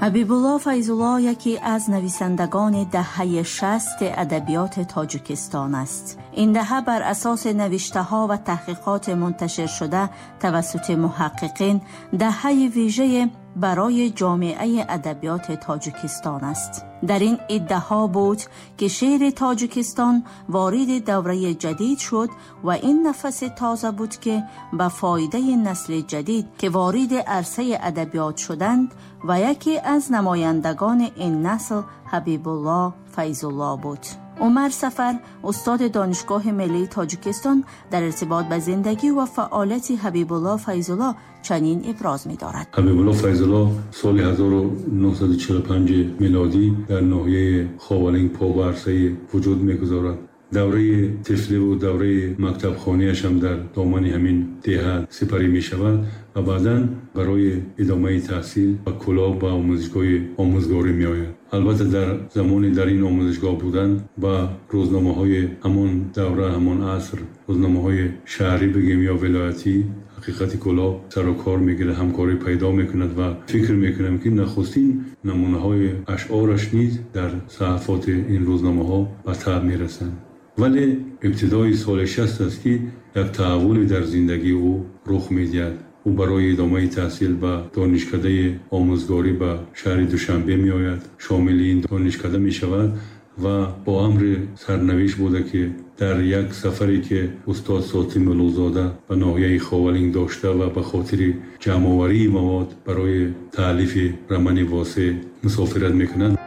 Ҳабибулло Файзулло яке аз нависандагони даҳаи 60 адабиёти Тоҷикистон аст. Ин даҳа бар асоси навиштаҳо ва таҳқиқоти мунташиршуда тавассути муҳаққиқин даҳаи вижае барои ҷомеаи адабиёти Тоҷикистон аст. Дар ин иддаҳо буд, ки шеъри Тоҷикистон вориди давраи ҷадид шуд ва ин нафаси тоза буд, ки ба фоидаи насли ҷадид, ки вориди арсаи адабиёт шуданд, ва яке аз намояндагони ин насл Ҳабибулло Файзулло буд. Умар Сафар, устоди Донишгоҳи миллии Тоҷикистон, дар иртибот ба зиндагӣ ва фаъолияти Ҳабибулло Файзулло чунин иброз медорад. Ҳабибулло Файзулло соли 1945 милодӣ дар ноҳияи Ховалинг по ба арсаи вуҷуд мегузорад. Давраи тифливу давраи мактабхониаш ҳам дар домани ҳамин деҳа сипарӣ мешавад ва баъдан барои идомаи таҳсил ба Кӯлоб, ба омӯзишгоҳи омӯзгорӣ меояд. Албатта, дар замони дар ин омӯзишгоҳ будан ба рӯзномаҳои ҳамон давра, ҳамон аср, рӯзномаҳои шаҳрӣ бигем ё вилоятӣ, «Ҳақиқати Кӯлоб» сару кор мегирад, ҳамкорӣ пайдо мекунад ва фикр мекунам, ки нахустин намунаҳои ашъораш низ дар саҳифоти ин рӯзномаҳо ба таб мерасанд. Вале ибтидои соли 60 аст, ки як таҳаввуле дар зиндагии ӯ рух медиҳад. Ӯ барои идомаи таҳсил ба донишкадаи омӯзгорӣ ба шаҳри Душанбе меояд, шомили ин донишкада мешавад ва бо амри сарнавишт буда, ки дар як сафаре, ки устод Сотим Улуғзода ба ноҳияи Ховалинг дошта ва ба хотири ҷамъоварии мавод барои таълифи романи «Восеъ» мусофират мекунад.